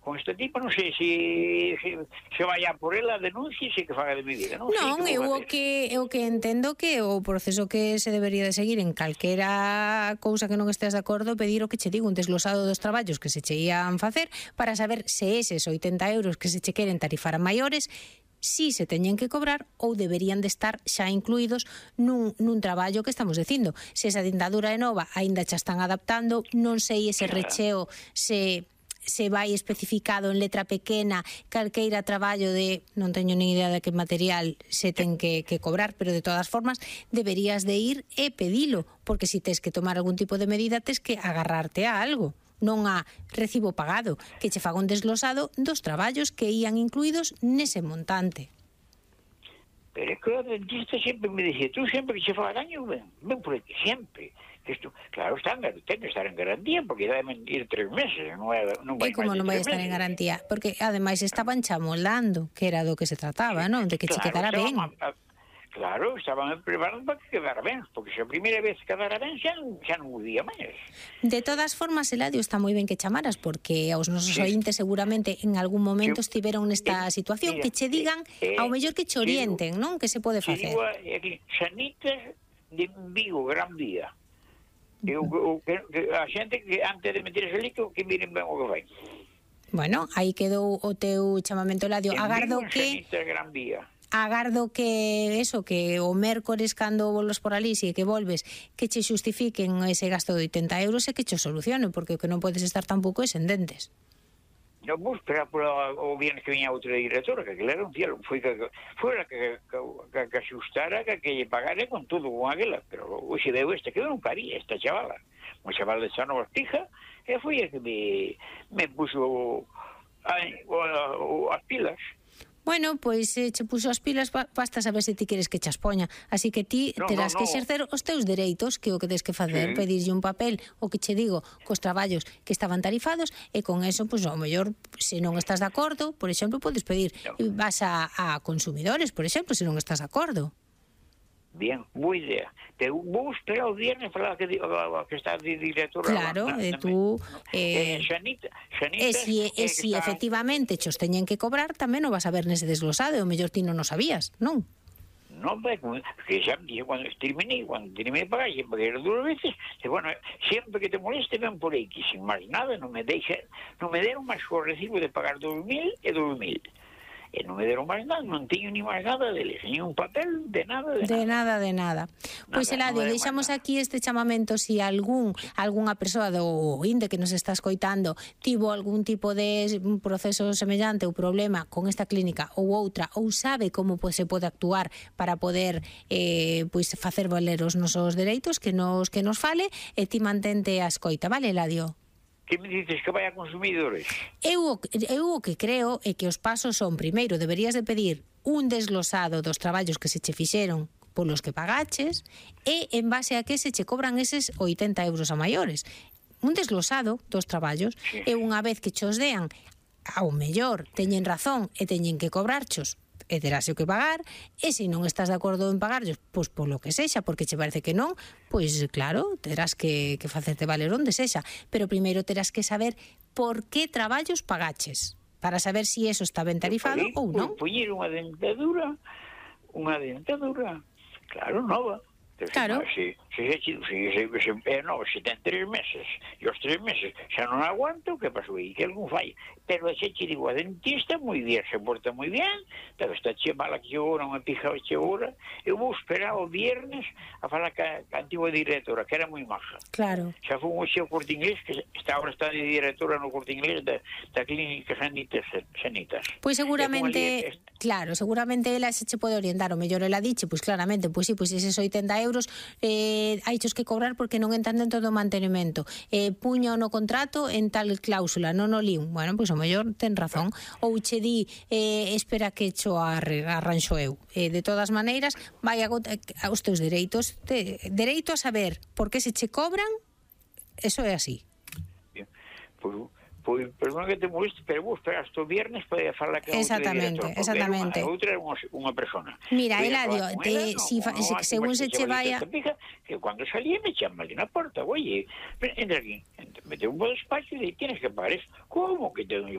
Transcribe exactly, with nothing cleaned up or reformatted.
con este tipo, non sei se se, se vaya por ela a denuncia e se que faga de mi vida, non? Non, sei eu o que eu que entendo que o proceso que se debería de seguir en calquera cousa que non estés de acordo, pedir o que che digo, un desglosado dos traballos que se che ían facer para saber se eses oitenta euros que se che queren tarifar a maiores si se teñen que cobrar ou deberían de estar xa incluídos nun, nun traballo que estamos dicindo. Se esa dentadura é nova, aínda xa están adaptando, non sei ese recheo se se vai especificado en letra pequena calqueira traballo de, non teño nin idea de que material se ten que, que cobrar, pero de todas formas deberías de ir e pedilo, porque se tes que tomar algún tipo de medida tes que agarrarte a algo, non a recibo pagado, que che faga un desglosado dos traballos que ían incluídos nese montante. Pero é que o dentista sempre me dixía, tú sempre que che faga daño, ven, ven por aquí, sempre. Isto, claro, está, ten que estar en garantía, porque deben ir tres meses, non é, non vai e como non vai estar en garantía? Porque, ademais, estaban chamoldando, que era do que se trataba, non? De que claro, che quedara ben. A, a, claro, estaban preparando para que quedara ben, porque se a primeira vez quedara ben, xa non, xa non podía máis. De todas formas, Eladio, está moi ben que chamaras, porque aos nosos sí. ointes seguramente en algún momento sí. estiveron nesta eh, situación, mira, que che digan, eh, ao mellor que che orienten, non? Que se pode facer. Digo, aquí, Sanitas de Vigo, Gran Vía. Eu, eu, que, a xente que antes de meter ese líquido que miren ben o que vai. Bueno, aí quedou o teu chamamento, Eladio. Agardo que Gran Vía. Agardo que eso, que o mércores cando volves por ali, si que volves, que che xustifiquen ese gasto de oitenta euros e que che solucionen, porque o que non podes estar tampouco é sen dentes. Non vou esperar por o viernes que viña outra directora, que aquela era un cielo, foi que foi a que que, que, que axustara, que, que lle pagare con todo con aquela, pero hoxe deu este, que eu non paría esta chavala, unha chavala de Sano Bastija, e foi a que me, me puso a, a, a, as pilas. Bueno, pois eh, che puxo as pilas, basta saber se ti queres que che as poña. Así que ti no, terás no, no. que exercer os teus dereitos, que é o que tens que facer, sí. Pedirlle un papel, o que che digo, cos traballos que estaban tarifados, e con eso, pois, ao mellor, se non estás de acordo, por exemplo, podes pedir, no. vas a, a consumidores, por exemplo, se non estás de acordo. Bien, boa idea. Te vou esperar o viernes para que, que está de directora. Claro, na, e tú... Eh, eh, Xanita, Xanita, e si, e si está... efectivamente chos teñen que cobrar, tamén o vas a ver nese desglosado, o mellor ti non o sabías, non? Non, porque xa me dixo, cando terminé, cando terminé de pagar, xe paguei dúas veces, e, bueno, sempre que te moleste, ven por aí, que sin máis nada, non me deixa, non me deron máis o recibo de pagar dos mil e dos mil. E non me deron máis nada, non teño ni máis nada deles, ni un papel, de nada, de, de nada. nada. De nada, de nada. Pois, Eladio, no deixamos aquí este chamamento si algún algunha persoa do INDE que nos está escoitando tivo algún tipo de proceso semellante ou problema con esta clínica ou outra, ou sabe como pues, se pode actuar para poder eh, pues, facer valer os nosos dereitos, que nos, que nos fale, e ti mantente a escoita, vale, Eladio? Que me dices que vai a consumidores? Eu, eu o que creo é que os pasos son, primeiro, deberías de pedir un desglosado dos traballos que se che fixeron polos que pagaches e en base a que se che cobran eses oitenta euros a maiores. Un desglosado dos traballos sí. E unha vez que chos dean, ao mellor teñen razón e teñen que cobrarchos e terás o que pagar, e se non estás de acordo en pagarlos, pois polo que sexa, porque che parece que non, pois claro, terás que, que facerte valer onde sexa, pero primeiro terás que saber por que traballos pagaches, para saber se si eso está ben tarifado ou non. Poñer unha dentadura, unha dentadura, claro, nova. Claro. Se, se, se, se, se, se, se, no, se ten tres meses e os tres meses xa non aguanto, que pasou aí? Que algún falla. Pero xe che digo, a dentista moi bien, se porta moi bien, pero está che mala que hora, unha pija che hora. Eu vou esperar o viernes a falar ca, ca antigua directora, que era moi maja. Claro. Xa foi un xeo Corte Inglés, que está, ahora está de directora no Corte Inglés da, da clínica Sanitas. Sanitas. Pois seguramente, claro, seguramente ela se che pode orientar, o mellor ela diche, pois claramente, pois si, pois eses oitenta euros eh, hai chos que cobrar porque non entran dentro do mantenimento, eh, puño no contrato en tal cláusula, non o lín. Bueno, pois o mellor ten razón, ou che di eh, espera que cho arranxo eu. Eh, de todas maneiras, vai a, a os teus dereitos, te, dereito a saber por que se che cobran, eso é así. Bien, pois Pois, perdón que te moleste, pero vou esperar hasta o viernes para falar que exactamente, outra exactamente. A outra é unha, unha persona. Mira, Eladio, te, ela, si, no, no, si, según se che vaya... Pija, que cando salía me chama ali na porta, oye, entra aquí, mete un bo despacho e tienes que pagar eso. Como que tengo yo